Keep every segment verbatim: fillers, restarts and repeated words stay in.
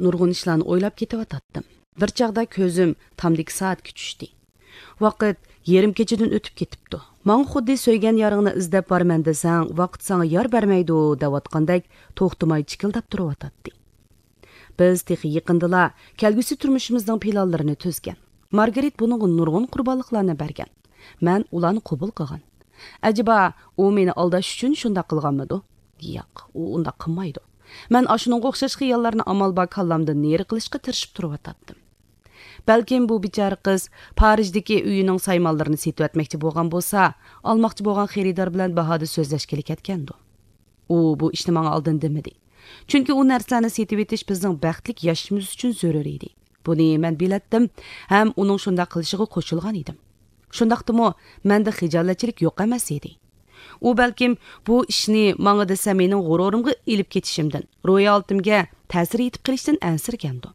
نۇرغۇن ئىشلارنى ئويلاپ كېتىۋاتاتتىم. بىر چاغدا كۆزۈم تامدىكى سائەتكە چۈشتى. ۋاقىت يېرىم كېچىدىن ئۆتۈپ كېتىپتۇ. ماڭا خۇددى سۆيگەن يارىڭنى ئىزدەپ بارىمەن دېسەڭ، ۋاقىت ساڭا يار بەرمەيدۇ دەۋاتقاندەك توختىماي چىكىلداپ تۇرۇۋاتاتتى. بىز تېخى يېقىندىلا كەلگۈسى تۇرمۇشىمىزنىڭ پىلانلىرىنى تۈزگەن. مارگارىت بۇنىڭغا نۇرغۇن قۇربانلىقلارنى بەرگەن. مەن ئۇلارنى قوبۇل قىلغان. ئەجەبا، ئۇ مېنى ئالداش ئۈچۈن شۇنداق قىلغانمىدۇ؟ ياق، ئۇ ئۇنداق قىلمايدۇ. مەن ئاشۇنىڭغا ئوخشاش خىياللارنى ئامال بار كاللامدىن نېرى قىلىشقا تىرىشىپ تۇرۇۋاتاتتىم. بەلكىم بۇ بىچارە قىز پارىژدىكى ئۆيىنىڭ سايمانلىرىنى سېتىۋەتمەكچى بولغان بولسا، ئالماقچى بولغان خېرىدار بىلەن باھادا سۆزلەشكىلى كەتكەندۇ؟ ئۇ بۇ ئىشنى ماڭا ئالدىن دېمىدى. چۈنكى ئۇ نەرسىلەرنى سېتىۋېتىش بىزنىڭ بەختلىك ياشىشىمىز ئۈچۈن زۆرۈر ئىدى. بۇنى مەن بىلەتتىم ھەم ئۇنىڭ شۇنداق قىلىشىغا قوشۇلغان ئىدىم. شۇنداقتىمۇ مەندە خىجالەتچىلىك يوق ئەمەس ئىدى. ئۇ بەلكىم بۇ ئىشنى ماڭا دېسە مېنىڭ غۇرۇرۇمغا ئېلىپ كېتىشىمدىن، روھىي ھالىتىمگە تەسىر يېتىپ قېلىشتىن ئەنسىرىگەندۇ.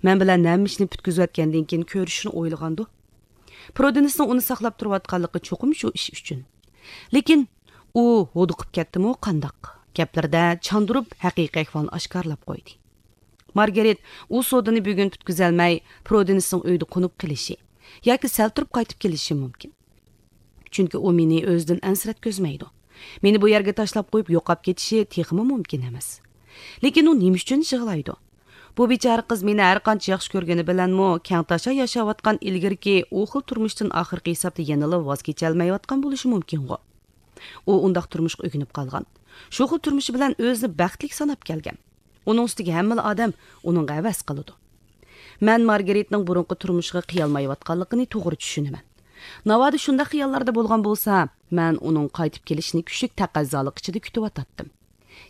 مەن بىلەن ھەممە ئىشنى پۈتكۈزۈۋەتكەندىن كېيىن كۆرۈشۈشنى ئويلىغاندۇ. پرودېنسنىڭ ئۇنى ساقلاپ تۇرۇۋاتقانلىقى چوقۇم شۇ ئىش ئۈچۈن. لېكىن ئۇ ھودۇقۇپ كەتتىمۇ قانداق؟ گەپلىرىدە چاندۇرۇپ ھەقىقىي ئەھۋالنى ئاشكارىلاپ قويدى. مارگارىت ئۇ سودىنى بۈگۈن پۈتكۈزەلمەي، پرودېنسنىڭ ئۆيدە قونۇپ قېلىشى ياكى سەل تۇرۇپ قايتىپ كېلىشى مۇمكىن. چۈنكى ئۇ مېنى ئۆزىدىن ئەنسىرەتكۈزمەيدۇ. مېنى بۇ يەرگە تاشلاپ قويۇپ يوقاپ كېتىشى تېخىمۇ مۇمكىن ئەمەس. لېكىن ئۇ نېمە ئۈچۈن يىغلايدۇ؟ بۇ بىچارە قىز مېنى ھەرقانچە ياخشى كۆرگىنى بىلەنمۇ، كەڭتاشا ياشاۋاتقان ئىلگىرىكى ئۇ خىل تۇرمۇشتىن ئاخىرقى ھېسابتا يەنىلا ۋاز كېچەلمەيۋاتقان بولۇشى مۇمكىنغۇ؟ ئۇ ئۇنداق تۇرمۇشقا ئۆگىنىپ قالغان. شۇ خىل تۇرمۇشى بىلەن ئۆزىنى بەختلىك ساناپ كەلگەن. ئۇنىڭ ئۈستىگە ھەممىلا ئادەم ئۇنىڭغا ھەۋەس قىلىدۇ. مەن مارگارىتنىڭ بۇرۇنقى تۇرمۇشىغا قىيالمايۋاتقانلىقىنى توغرا چۈشىنىمەن. ناۋادا شۇنداق خىياللاردا بولغان بولسا، مەن ئۇنىڭ قايتىپ كېلىشىنى كۈچلۈك تەقەززالىق ئىچىدە كۈتۈۋاتاتتىم.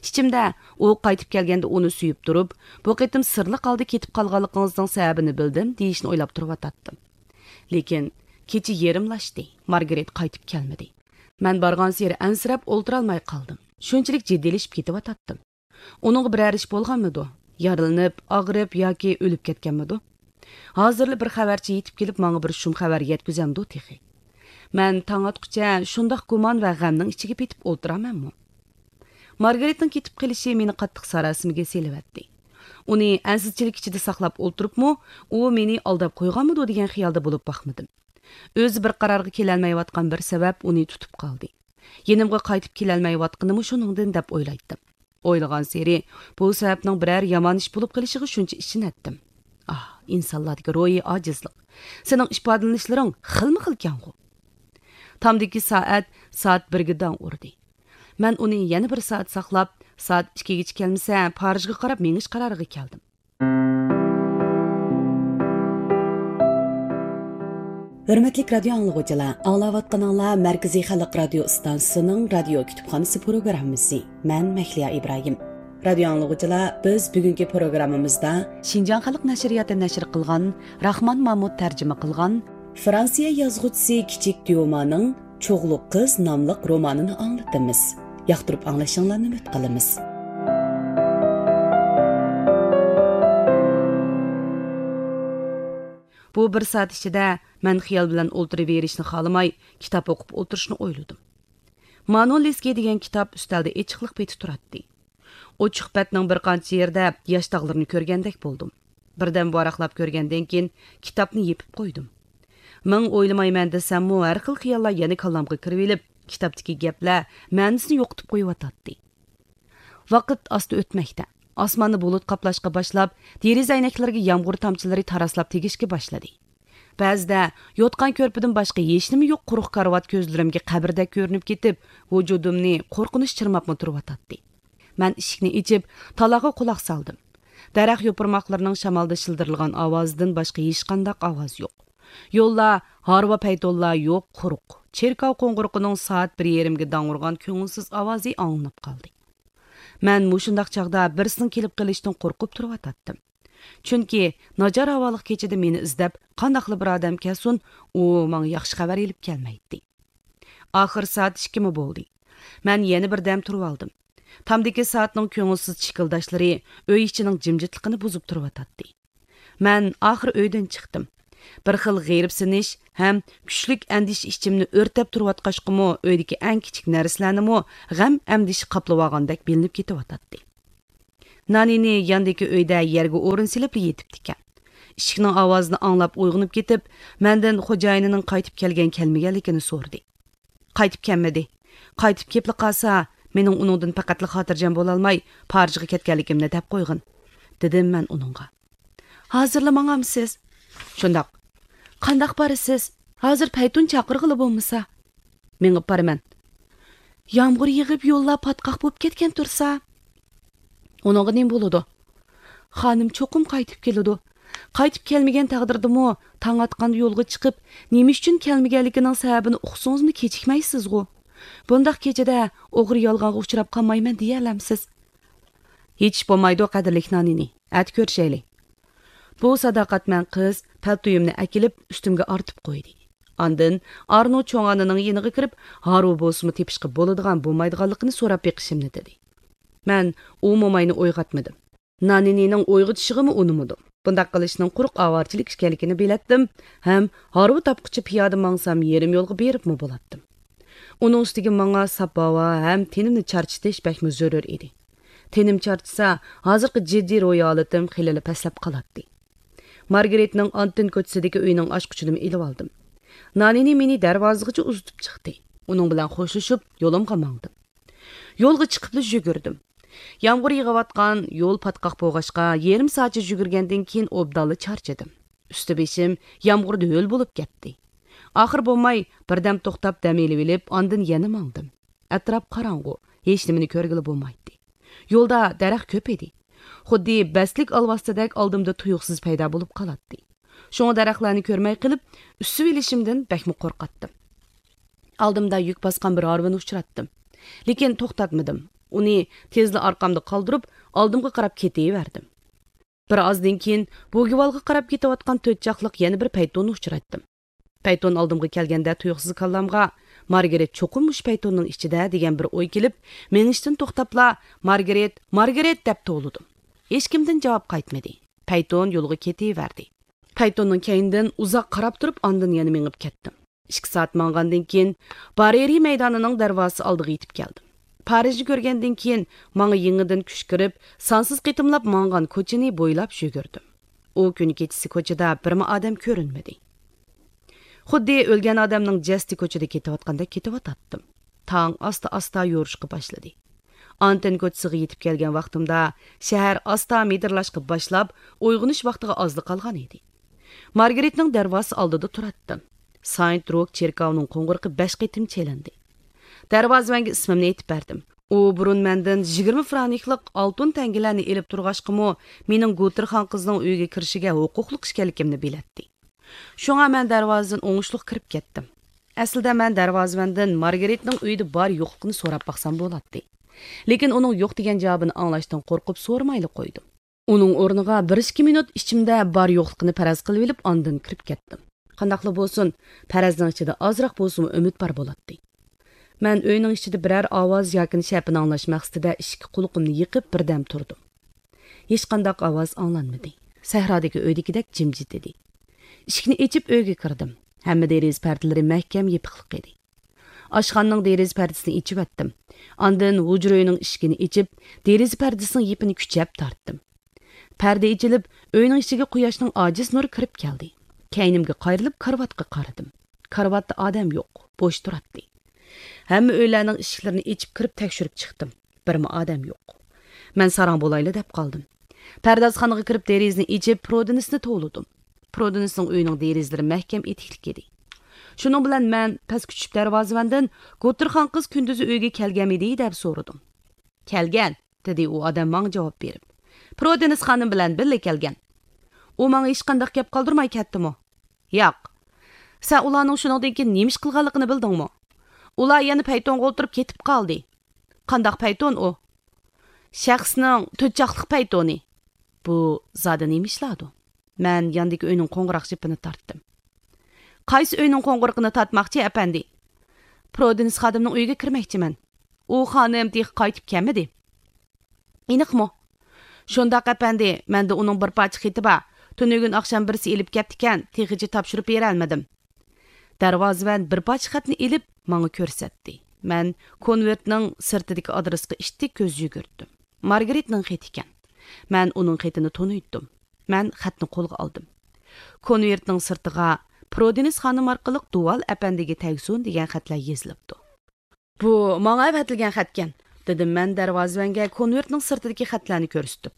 ئىچىمدە ئۇ قايتىپ كەلگەندە ئۇنى سۆيۈپ تۇرۇپ، بۇ قېتىم سىرلىق ھالدا كېتىپ قالغانلىقىڭىزنىڭ سەۋەبىنى بىلدىم دېيىشنى ئويلاپ تۇرۇۋاتاتتىم. لېكىن كېچە يېرىملاشتى، مارگارىت قايتىپ كەلمىدى. مەن بارغانسېرى ئەنسىرەپ ئولتۇرالماي قالدىم. شۇنچىلىك جىددىيلىشىپ كېتىۋاتاتتىم. ئۇنىڭغا بىرەر ئىش بولغانمىدۇ؟ يارىلىنىپ، ئاغرىپ ياكى ئۆلۈپ كەتكەنمىدۇ؟ ھازىرلا بىر خەۋەرچى يېتىپ كېلىپ، ماڭا بىر شۇم خەۋەر يەتكۈزەمدۇ تېخى؟ مەن تاڭ ئاتقۇچە شۇنداق گۇمان ۋە غەمنىڭ ئىچىگە پېتىپ ئولتۇرامەنمۇ؟ مارگارىتنىڭ كېتىپ قېلىشى مېنى قاتتىق ساراسىمىگە سېلىۋەتتى. ئۇنى ئەنسىزچىلىك ئىچىدە ساقلاپ ئولتۇرۇپمۇ، ئۇ مېنى ئالداپ قويغانمىدۇ دېگەن خىيالدا بولۇپ باقمىدىم. ئۆزى بىر قارارغا كېلەلمەيۋاتقان بىر سەۋەب ئۇنى تۇتۇپ قالدى. يېنىمغا قايتىپ كېلەلمەيۋاتقىنىمۇ شۇنىڭدىن دەپ ئويلايتتىم. ئويلىغانسېرى بۇ سەۋەبنىڭ بىرەر يامان ئىش بولۇپ قېلىشىغا شۇنچە ئىشىنەتتىم. ئاھ، ئىنسانلاردىكى روھىي ئاجىزلىق! سېنىڭ ئىپادىلىنىشلىرىڭ خىلمۇ خىلكەنغۇ! تامدىكى سائەت سائەت بىرگە داڭ ئۇردى. مەن ئۇنى يەنە بىر سائەت ساقلاپ، سائەت ئىككىگىچە كەلمىسە، پارىژغا قاراپ مېڭىش قارارىغا كەلدىم. ھۆرمەتلىك رادىيو ئاڭلىغۇچىلار، ئاڭلاۋاتقىنىڭلار مەركىزىي خەلق رادىيو ئىستانسىسىنىڭ رادىيو كۇتۇپخانىسى پروگراممىسى. مەن مەھلىيا ئىبراھىم. رادىيو ئاڭلىغۇچىلار، بىز بۈگۈنكى پروگراممىمىزدا شىنجاڭ خەلق نەشرىياتى نەشر قىلغان، راخمان مامۇت تەرجىمە قىلغان، فرانسىيە يازغۇچىسى كىچىك ديومانىڭ چوغلۇق قىز ناملىق رومانىنى ئاڭلىتىمىز. ياقتۇرۇپ ئاڭلىشىڭلارنى ئۈمىد قىلىمىز. بۇ بىر سائەت ئىچىدە مەن خىيال بىلەن ئولتۇرۇۋېرىشنى خالىماي، كىتاب ئوقۇپ ئولتۇرۇشنى ئويلىدىم. مانولسكىي دېگەن كىتاب ئۈستەلدە ئېچىقلىق پېتى تۇراتتى. ئوچۇق بەتنىڭ بىر قانچە يېرىدە ياش داغلىرىنى كۆرگەندەك بولدۇم. بىردەم ۋاراقلاپ كۆرگەندىن كېيىن كىتابنى يېپىپ قويدۇم. مىڭ ئويلىمايمەن دېسەممۇ، ھەر خىل خىياللار يەنە كاللامغا كىرىۋېلىپ، كىتابتىكى گەپلەر مەنىسىنى يوقىتىپ قويۇۋاتاتتى. ۋاقىت ئاستا ئۆتمەكتە. ئاسماننى بۇلۇت قاپلاشقا باشلاپ، دېرىزە ئەينەكلىرىگە يامغۇر تامچىلىرى تاراسلاپ تېگىشكە باشلىدى. بەزىدە يوتقان كۆرپىدىن باشقا ھېچنېمە يوق قۇرۇق كارىۋات كۆزلىرىمگە قەبرىدەك كۆرۈنۈپ كېتىپ، ۋۇجۇدۇمنى قورقۇنچ چىرماپمۇ تۇرۇۋاتاتتى. مەن ئىشىكنى ئېچىپ، تالاغا قۇلاق سالدىم. دەرەخ يوپۇرماقلىرىنىڭ شامالدا شىلدىرلىغان ئاۋازىدىن باشقا ھېچقانداق ئاۋاز يوق. يوللار ھارۋا پەيتۇنلار يوق، قۇرۇق. چېركاۋ قوڭغۇرىقىنىڭ سائەت بىر يېرىمگە داڭ ئۇرغان كۆڭۈلسىز ئاۋازى ئاڭلىنىپ قالدى. مەن مۇشۇنداق چاغدا بىرسىنىڭ كېلىپ قېلىشىدىن قورقۇپ تۇرۇۋاتاتتىم. چۈنكى ناچار ھاۋالىق كېچىدە مېنى ئىزدەپ قانداقلا بىر ئادەم كەلسۇن، ئۇ ماڭا ياخشى خەۋەر ئېلىپ كەلمەيتتى. ئاخىر سائەت ئىككىمۇ بولدى. مەن يەنە بىر دەم تۇرۇۋالدىم. تامدىكى سائەتنىڭ كۆڭۈلسىز چىكىلداشلىرى ئۆي ئىچىنىڭ جىمجىتلىقىنى بۇزۇپ تۇرۇۋاتاتتى. مەن ئاخىر ئۆيدىن چىقتىم. بىر خىل غېرىبسىنىش ھەم كۈچلۈك ئەندىشە ئىچىمنى ئۆرتەپ تۇرۇۋاتقاچقىمۇ، ئۆيدىكى ئەڭ كىچىك نەرسىلەرنىمۇ غەم ئەندىشە قاپلىۋالغاندەك بىلىنىپ كېتىۋاتاتتى. نانىنى ياندىكى ئۆيدە يەرگە ئورۇن سېلىپلا يېتىپتىكەن. ئىشىكنىڭ ئاۋازىنى ئاڭلاپ ئويغىنىپ كېتىپ، مەندىن خوجايىنىنىڭ قايتىپ كەلگەن كەلمىگەنلىكىنى سورىدى. قايتىپ كەلمىدى. قايتىپ كېپلا قالسا، مېنىڭ ئۇنىڭدىن پەقەتلا خاتىرجەم بولالماي، پارىژغا كەتكەنلىكىمنى دەپ قويغىن، دېدىم مەن ئۇنىڭغا. ھازىرلا ماڭامسىز؟ شۇنداق. قانداق بارىسىز؟ ھازىر پەيتۇن چاقىرغىلى بولمىسا. مېڭىپ بارىمەن. يامغۇر يېغىپ يوللار پاتقاق بولۇپ كەتكەن تۇرسا. ئۇنىڭغا نېمە بولىدۇ؟ خانىم چوقۇم قايتىپ كېلىدۇ. قايتىپ كەلمىگەن تەقدىردىمۇ، تاڭ ئاتقاندا يولغا چىقىپ، نېمە ئۈچۈن كەلمىگەنلىكىنىڭ سەۋەبىنى ئۇقسىڭىزمۇ كېچىكمەيسىزغۇ؟ بۇنداق كېچىدە ئوغرى يالغانغا ئۇچراپ قالمايمەن دېيەلەمسىز؟ ھېچ ئىش بولمايدۇ، قەدىرلىك نانىنى. ئەتە كۆرۈشەيلى. بۇ ساداقەتمەن قىز پەلتويۇمنى ئەكېلىپ، ئۈستۈمگە ئارتىپ قويدى. ئاندىن ئارنو چوڭ ئانىنىڭ يېنىغا كىرىپ، ھارۋا بولسىمۇ تېپىشقا بولىدىغان بولمايدىغانلىقىنى سوراپ بېقىشىمنى دېدى. مەن ئۇ موماينى ئويغاتمىدىم. نانىنىنىڭ ئويغىتىشىغىمۇ ئۇنىمىدىم. بۇنداق قىلىشنىڭ قۇرۇق ئاۋارىچىلىك ئىكەنلىكىنى بىلەتتىم ھەم ھارۋا تاپقۇچە پىيادە ماڭسام يېرىم يولغا بېرىپمۇ بولاتتىم. ئۇنىڭ ئۈستىگە ماڭا ساپ ھاۋا ھەم تېنىمنى چارچىتىش بەكمۇ زۆرۈر ئىدى. تېنىم چارچىسا، ھازىرقى جىددىي روھىي ھالىتىم خېلىلا پەسلەپ قالاتتى. مارگرېتنىڭ ئانتىن كوچىسىدىكى ئۆينىڭ ئاچقۇچىنىمۇ ئېلىۋالدىم. نانىنى مېنى دەرۋازىغىچە ئۇزىتىپ چىقتى. ئۇنىڭ بىلەن خوشلىشىپ، يولۇمغا ماڭدىم. يولغا چىقىپلا يۈگۈردۈم. يامغۇر يېغىۋاتقان، يول پاتقاق بولغاچقا، يېرىم سائەتچە يۈگۈرگەندىن كېيىن ئوبدانلا چارچىدىم. ئۈستى بېشىم يامغۇردا ھۆل بولۇپ كەتتى. ئاخىر بولماي، بىردەم توختاپ دەم ئېلىۋېلىپ، ئاندىن يەنە ماڭدىم. ئەتراپ قاراڭغۇ، ھېچنېمىنى كۆرگىلى بولمايتتى. يولدا دەرەخ كۆپ ئىدى. خۇددى بەستلىك ئالۋاستىدەك ئالدىمدا تۇيۇقسىز پەيدا بولۇپ قالاتتى. شۇڭا دەرەخلەرنى كۆرمەي قېلىپ، ئۈسسىۋېلىشىمدىن بەكمۇ قورقاتتىم. ئالدىمدا يۈك باسقان بىر ھارۋىنى ئۇچراتتىم. لېكىن توختاتمىدىم. ئۇنى تېزلا ئارقامدا قالدۇرۇپ، ئالدىمغا قاراپ كېتىۋەردىم. بىر ئازدىن كېيىن بوگىۋالغا قاراپ كېتىۋاتقان تۆت چاقلىق يەنە بىر پەيتوننى ئۇچراتتىم. پەيتون ئالدىمغا كەلگەندە تۇيۇقسىز كاللامغا، مارگرېت چوقۇم مۇشۇ پەيتوننىڭ ئىچىدە دېگەن بىر ئوي كېلىپ، مېڭىشتىن توختاپلا، مارگرېت، مارگرېت دەپ توۋلىدىم. ھېچكىمدىن جاۋاب قايتمىدى. پەيتون يولىغا كېتىۋەردى. پەيتوننىڭ كەينىدىن ئۇزاق قاراپ تۇرۇپ، ئاندىن يەنە مېڭىپ كەتتىم. ئىككى سائەت ماڭغاندىن كېيىن، بارېرى مەيدانىنىڭ دەرۋازىسى ئالدىغا يېتىپ كەلدىم. پارىژنى كۆرگەندىن كېيىن، ماڭا يېڭىدىن كۈچ كىرىپ، سانسىز قېتىملاپ ماڭغان كوچىنى بويلاپ يۈگۈردۈم. ئۇ كۈنى كېچىسى كوچىدا بىرمۇ ئادەم كۆرۈنمىدى. خۇددى ئۆلگەن ئادەمنىڭ جەسىتى كوچىدا كېتىۋاتقاندەك كېتىۋاتاتتىم. تاڭ ئاستا-ئاستا يورۇشقا باشلىدى. ئانتىن كوچىسىغا يېتىپ كەلگەن ۋاقتىمدا شەھەر ئاستا مىدىرلاشقا باشلاپ، ئويغىنىش ۋاقتىغا ئازلا قالغان ئىدى. مارگرېتنىڭ دەرۋازىسى ئالدىدا تۇراتتىم. ساينت روك چېركاۋىنىڭ قوڭغۇرىقى بەش قېتىم چېلىندى. دەرۋازىۋەنگە ئىسمىمنى ئېيتىپ بەردىم. ئۇ بۇرۇن مەندىن يىگىرمە فرانكلىق ئالتۇن تەڭگىلەرنى ئېلىپ تۇرغاچقىمۇ، مېنىڭ گۇتېر خانقىزنىڭ ئۆيىگە كىرىشىگە ھوقۇقلۇق ئىكەنلىكىمنى بىلەتتى. شۇڭا مەن دەرۋازىدىن ئوڭۇشلۇق كىرىپ كەتتىم. ئەسلىدە مەن دەرۋازىۋەندىن مارگرېتنىڭ ئۆيىدە بار يوقلۇقىنى سوراپ باقسام بولاتتى. لېكىن ئۇنىڭ يوق دېگەن جاۋابىنى ئاڭلاشتىن قورقۇپ سورىمايلا قويدۇم. ئۇنىڭ ئورنىغا بىر ئىككى مىنۇت ئىچىمدە بار يوقلۇقىنى پەرەز قىلىۋېلىپ ئاندىن كىرىپ كەتتىم. قانداقلا بولسۇن، پەرەزنىڭ ئىچىدە ئازراق بولسىمۇ ئۈمىد بار بولاتتى. مەن ئۆينىڭ ئىچىدە بىرەر ئاۋاز ياكىنى شەپىنى ئاڭلاش مەقسىتىدە ئىشىككە قۇلىقىمنى يېقىپ بىردەم تۇردۇم. ھېچقانداق ئاۋاز ئاڭلانمىدى. سەھرادىكى ئۆيدىكىدەك جىمجىت ئىدى. ئىشىكنى ئېچىپ ئۆيگە كىردىم. ھەممە دېرىزە پەردىلىرى مەھكەم يېپىقلىق ئىدى. ئاشخانىنىڭ دېرىزە پەردىسىنى ئېچىۋەتتىم. ئاندىن ھۇجرا ئۆينىڭ ئىشىكىنى ئېچىپ، دېرىزە پەردىسىنىڭ يىپىنى كۈچەپ تارتتىم. پەردە ئېچىلىپ، ئۆينىڭ ئىچىگە قۇياشنىڭ ئاجىز نۇرى كىرىپ كەلدى. كەينىمگە قايرىلىپ كارىۋاتقا قارىدىم. كارىۋاتتا ئادەم يوق، بوش تۇراتتى. ھەممە ئۆيلەرنىڭ ئىشىكلىرىنى ئېچىپ كىرىپ تەكشۈرۈپ چىقتىم. بىرمۇ ئادەم يوق. مەن ساراڭ بولايلا دەپ قالدىم. پەردازخانىغا كىرىپ دېرىزىنى ئېچىپ، پرودېنسنى توۋلىدىم. پرودېنسنىڭ ئۆيىنىڭ دېرىزىلىرى مەھكەم ئېتىكلىك ئىدى. شۇنىڭ بىلەن مەن پەسكە چۈشۈپ دەرۋازىۋەندىن، «گوتىر خانقىز كۈندۈزى ئۆيگە كەلگەنمىدى؟» دەپ سورىدىم. «كەلگەن»، دېدى ئۇ ئادەم ماڭا جاۋاب بېرىپ. «پرودېنس خانىم بىلەن بىللە كەلگەن.» «ئۇ ماڭا ھېچقانداق گەپ قالدۇرماي كەتتىمۇ؟» «ياق.» «سەن ئۇلارنىڭ شۇنىڭدىن كېيىن نېمە ئىش قىلغانلىقىنى بىلدىڭمۇ؟» «ئۇلار يەنە پەيتونغا ئولتۇرۇپ كېتىپ قالدى.» «قانداق پەيتون ئۇ؟» «شەخسنىڭ تۆت چاقلىق پەيتونى.» «بۇ زادى نېمە ئىشلاردۇ؟» مەن ياندىكى ئۆينىڭ قوڭغۇراق جىپىنى تارتتىم. «قايسى ئۆينىڭ قوڭغۇرىقىنى تارتماقچى، ئەپەندى؟» «پرودېنس خادىمنىڭ ئۆيىگە كىرمەكچىمەن.» «ئۇ خانىم تېخى قايتىپ كەلمىدى.» «ئېنىقمۇ؟» «شۇنداق، ئەپەندى، مەندە ئۇنىڭ بىر پارچە خېتى بار. تۈنۈگۈن ئاخشام بىرسى ئېلىپ كەپتىكەن، تېخىچە تاپشۇرۇپ بېرەلمىدىم.» دەرۋازىۋەن بىر پارچە خەتنى ئېلىپ، ماڭا كۆرسەتتى. مەن كونۋېرتنىڭ سىرتىدىكى ئادرېسقا ئىتتىك كۆز يۈگۈرتتۈم. مارگرېتنىڭ خېتى ئىكەن. مەن ئۇنىڭ خېتىنى تونۇيتتۇم. مەن خەتنى قولغا ئالدىم. كونۋېرتنىڭ سىرتىغا «پرودېنس خانىم ئارقىلىق دۇۋال ئەپەندىگە تەگسۇن» دېگەن خەتلەر يېزىلىپتۇ. «بۇ ماڭا ئەۋەتىلگەن خەتكەن»، دېدىم مەن دەرۋازىۋەنگە كونۋېرتنىڭ سىرتىدىكى خەتلەرنى كۆرسىتىپ.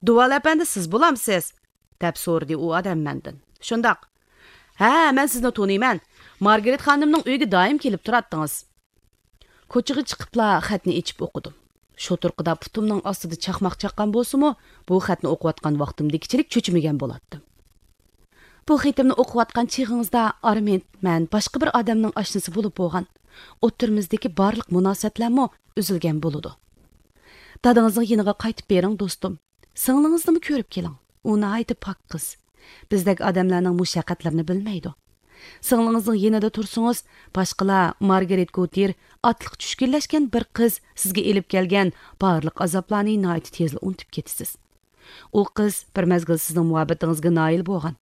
«دۇۋال ئەپەندى سىز بولامسىز؟» دەپ سورىدى ئۇ ئادەم مەندىن. «شۇنداق.» «ھە، مەن سىزنى تونۇيمەن. مارگرېت خانىمنىڭ ئۆيىگە دائىم كېلىپ تۇراتتىڭىز.» كوچىغا چىقىپلا خەتنى ئېچىپ ئوقۇدۇم. شۇ تۇرقىدا پۇتۇمنىڭ ئاستىدا چاقماق چاققان بولسىمۇ، بۇ خەتنى ئوقۇۋاتقان ۋاقتىمدىكىچىلىك چۆچۈمىگەن بولاتتىم. بۇ خېتىمنى ئوقۇۋاتقان چېغىڭىزدا ئارمىد مەن باشقا بىر ئادەمنىڭ ئاشنىسى بولۇپ بولغان. ئوتتۇرىمىزدىكى بارلىق مۇناسىۋەتلەرمۇ ئۈزۈلگەن بولىدۇ. دادىڭىزنىڭ يېنىغا قايتىپ بېرىڭ، دوستۇم. سىڭلىڭىزنىمۇ كۆرۈپ كېلىڭ. ئۇ ناھايىتى پاك قىز. بىزدەك ئادەملەرنىڭ مۇشۇ ھەقىقەتلىرىنى بىلمەيدۇ. سىڭلىڭىزنىڭ يېنىدا تۇرسىڭىز، باشقىلار مارگرېت گوتىر ئاتلىق چۈشكۈنلەشكەن بىر قىز سىزگە ئېلىپ كەلگەن بارلىق ئازابلارنى ناھايىتى تېزلا ئۇنتۇپ كېتىسىز. ئۇ قىز بىر مەزگىل سىزنىڭ مۇھەببىتىڭىزگە نائىل بولغان.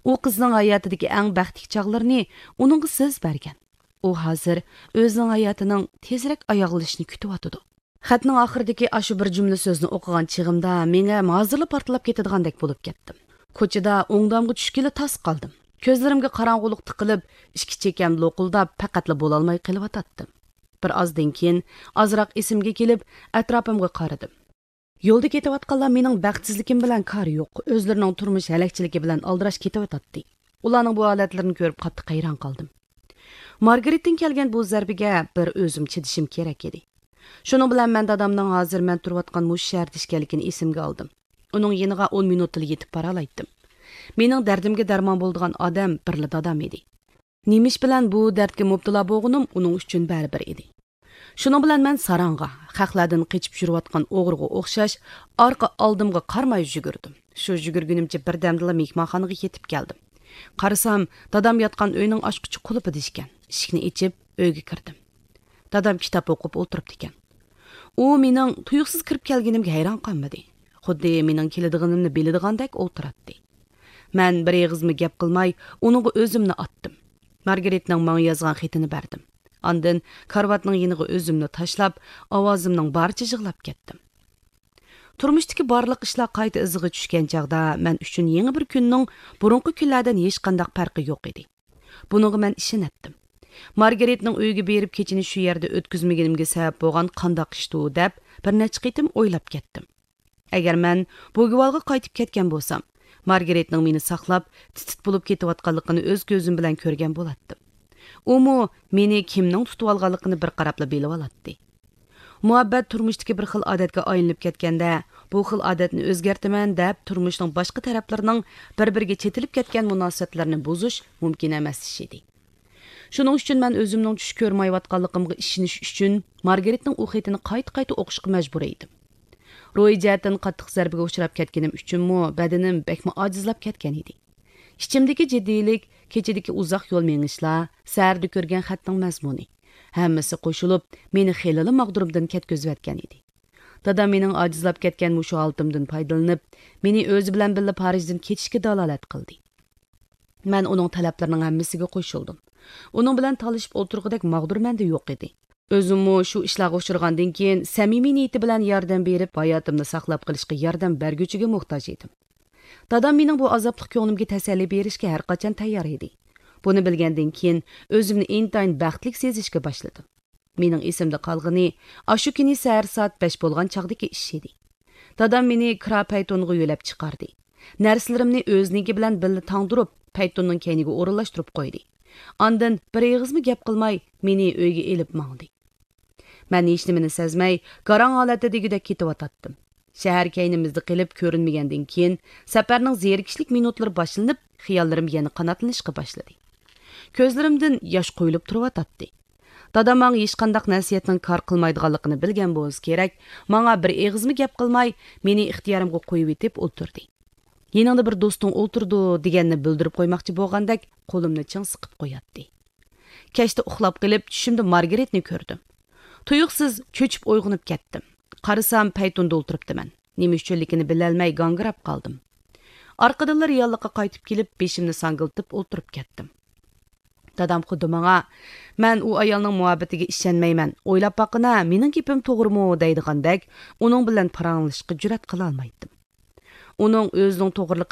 ئۇ قىزنىڭ ھاياتىدىكى ئەڭ بەختلىك چاغلىرىنى ئۇنىڭغا سىز بەرگەن. ئۇ ھازىر ئۆزىنىڭ ھاياتىنىڭ تېزرەك ئاياغلىشىنى كۈتۈۋاتىدۇ. خەتنىڭ ئاخىرىدىكى ئاشۇ بىر جۈملە سۆزنى ئوقۇغان چېغىمدا مېڭەم ھازىرلا پارتلاپ كېتىدىغاندەك بولۇپ كەتتىم. كوچىدا ئوڭدامغا چۈشكىلى تاس قالدىم. كۆزلىرىمگە قاراڭغۇلۇق تىقىلىپ، ئىككى چېكەم لوقۇلداپ، پەقەتلا بولالماي قېلىۋاتاتتىم. بىر ئازدىن كېيىن ئازراق ئېسىمگە كېلىپ، ئەتراپىمغا قارىدىم. يولدا كېتىۋاتقانلار مېنىڭ بەختسىزلىكىم بىلەن كارى يوق، ئۆزلىرىنىڭ تۇرمۇش ھەلەكچىلىكى بىلەن ئالدىراش كېتىۋاتاتتى. ئۇلارنىڭ بۇ ھالەتلىرىنى كۆرۈپ قاتتىق ھەيران قالدىم. مارگرېتتىن كەلگەن بۇ زەربىگە بىر ئۆزۈم چىدىشىم كېرەك ئىدى. شۇنىڭ بىلەن مەن دادامنىڭ ھازىر مەن تۇرۇۋاتقان مۇشۇ شەھەردە ئىكەنلىكىنى ئېسىمگە ئالدىم. ئۇنىڭ يېنىغا ئون مىنۇتلا يېتىپ بارالايتتىم. مېنىڭ دەردىمگە دەرمان بولىدىغان ئادەم بىرلا دادام ئىدى. نېمە ئىش بىلەن بۇ دەردكە مۇپتىلا بولغىنىم ئۇنىڭ ئۈچۈن بەرىبىر ئىدى. شۇنىڭ بىلەن مەن ساراڭغا، خەقلەردىن قېچىپ يۈرۈۋاتقان ئوغرىغا ئوخشاش، ئارقا ئالدىمغا قارىماي يۈگۈردۈم. شۇ يۈگۈرگىنىمچە بىردەمدىلا مېھمانخانىغا يېتىپ كەلدىم. قارىسام، دادام ياتقان ئۆينىڭ ئاچقۇچى قۇلۇپىدا ئىكەن. ئىشىكنى ئېچىپ، ئۆيگە كىردىم. دادام كىتاب ئوقۇپ ئولتۇرۇپتىكەن. ئۇ مېنىڭ تۇيۇقسىز كىرىپ كەلگىنىمگە ھەيران قالمىدى. خۇددى مېنىڭ كېلىدىغىنىمنى بىلىدىغاندەك ئولتۇراتتى. مەن بىر ئېغىزمۇ گەپ قىلماي، ئۇنىڭغا ئۆزۈمنى ئاتتىم. مارگرېتنىڭ ماڭا يازغان خېتىنى بەردىم. ئاندىن كارىۋاتنىڭ يېنىغا ئۆزۈمنى تاشلاپ، ئاۋازىمنىڭ بارىچە يىغلاپ كەتتىم. تۇرمۇشتىكى بارلىق ئىشلار قايتا ئىزىغا چۈشكەن چاغدا مەن ئۈچۈن يېڭى بىر كۈننىڭ بۇرۇنقى كۈنلەردىن ھېچقانداق پەرقى يوق ئىدى. بۇنىڭغا مەن ئىشىنەتتىم. مارگرېتنىڭ ئۆيىگە بېرىپ كېچىنى شۇ يەردە ئۆتكۈزمىگىنىمگە سەۋەب بولغان قانداق ئىشتۇ دەپ بىر نەچچە قېتىم ئويلاپ كەتتىم. ئەگەر مەن بوگۋالغا قايتىپ كەتكەن بولسام، مارگرېتنىڭ مېنى ساقلاپ، تىت-تىت بولۇپ كېتىۋاتقانلىقىنى ئۆز كۆزۈم بىلەن كۆرگەن بولاتتىم. ئۇمۇ مېنى كىمنىڭ تۇتۇۋالغانلىقىنى بىر قاراپلا بىلىۋالاتتى. مۇھەببەت تۇرمۇشتىكى بىر خىل ئادەتكە ئايلىنىپ كەتكەندە، بۇ خىل ئادەتنى ئۆزگەرتىمەن دەپ، تۇرمۇشنىڭ باشقا تەرەپلىرىنىڭ بىر-بىرىگە چېتىلىپ كەتكەن مۇناسىۋەتلىرىنى بۇزۇش مۇمكىن ئەمەس ئىش ئىدى. شۇنىڭ ئۈچۈن مەن ئۆزۈمنىڭ چۈش كۆرمەيۋاتقانلىقىمغا ئىشىنىش ئۈچۈن مارگرېتنىڭ ئۇ خېتىنى قايتا-قايتا ئوقۇشقا مەجبۇر ئىدىم. روھىي جەھەتتىن قاتتىق زەربىگە ئۇچراپ كەتكىنىم ئۈچۈنمۇ بەدىنىم بەكمۇ ئاجىزلاپ كەتكەن ئىدى. ئىچىمدىكى جىددىيلىك، كېچىدىكى ئۇزاق يول مېڭىشلار، سەھەردە كۆرگەن خەتنىڭ مەزمۇنى، ھەممىسى قوشۇلۇپ مېنى خېلىلا ماغدۇرۇمدىن كەتكۈزۈۋەتكەن ئىدى. دادام مېنىڭ ئاجىزلاپ كەتكەن مۇشۇ ھالىتىمدىن پايدىلىنىپ، مېنى ئۆزى بىلەن بىللە پارىژدىن كېتىشكە دالالەت قىلدى. مەن ئۇنىڭ تەلەپلىرىنىڭ ھەممىسىگە قوشۇلدۇم. ئۇنىڭ بىلەن تالىشىپ ئولتۇرغۇدەك ماغدۇر مەندە يوق ئىدى. ئۆزۈممۇ شۇ ئىشلارغا ئۇچرىغاندىن كېيىن، سەمىمىي نىيىتى بىلەن ياردەم بېرىپ، ھاياتىمنى ساقلاپ قېلىشقا ياردەم بەرگۈچىگە موھتاج ئىدىم. دادام مېنىڭ بۇ ئازابلىق كۆڭلۈمگە تەسەللى بېرىشكە ھەرقاچان تەييار ئىدى. بۇنى بىلگەندىن كېيىن، ئۆزۈمنى ئىنتايىن بەختلىك سېزىشكە باشلىدىم. مېنىڭ ئېسىمدە قالغىنى ئاشۇ كۈنى سەھەر سائەت بەش بولغان چاغدىكى ئىش ئىدى. دادام مېنى كىرا پەيتۇنغا يۆلەپ چىقاردى. نەرسىلىرىمنى ئۆزىنىڭكى بىلەن بىللە تاڭدۇرۇپ، پەيتۇننىڭ كەينىگە ئورۇنلاشتۇرۇپ قويدى. ئاندىن بىر ئېغىزمۇ گەپ قىلماي، مېنى ئۆيگە ئېلىپ ماڭدى. مەن ھېچنېمىنى سەزمەي، گاراڭ ھالەتتە دېگۈدەك كېتىۋاتاتتىم. شەھەر كەينىمىزدە قېلىپ كۆرۈنمىگەندىن كېيىن، سەپەرنىڭ زېرىكىشلىك مىنۇتلىرى باشلىنىپ، خىياللىرىم يەنە قاناتلىنىشقا باشلىدى. كۆزلىرىمدىن ياش قۇيۇلۇپ تۇرۇۋاتاتتى. دادام ماڭا ھېچقانداق نەسىھەتنىڭ كار قىلمايدىغانلىقىنى بىلگەن بولسا كېرەك، ماڭا بىر ئېغىزمۇ گەپ قىلماي، مېنى ئىختىيارىمغا قويۇۋېتىپ ئولتۇردى. «يېنىڭدا بىر دوستۇڭ ئولتۇرىدۇ» دېگەننى بىلدۈرۈپ قويماقچى بولغاندەك قولۇمنى چىڭ سىقىپ قوياتتى. كەچتە ئۇخلاپ قېلىپ، چۈشۈمدە مارگرېتنى كۆردۈم. تۇيۇقسىز چۆچۈپ ئويغىنىپ كەتتىم. قارىسام، پەيتۇندا ئولتۇرۇپتىمەن. نېمە ئۈچۈنلۈكىنى بىلەلمەي گاڭگىراپ قالدىم. ئارقىدىنلا رېئاللىققا قايتىپ كېلىپ، بېشىمنى ساڭگىلىتىپ ئولتۇرۇپ كەتتىم. دادام خۇددى ماڭا، «مەن ئۇ ئايالنىڭ مۇھەببىتىگە ئىشەنمەيمەن، ئويلاپ باققىنا، مېنىڭ گېپىم توغرىمۇ؟» دەيدىغاندەك، ئۇنىڭ بىلەن پاراڭلىشىشقا جۈرئەت قىلالمايتتىم. ئۇنىڭ ئۆزىنىڭ توغرىلىقى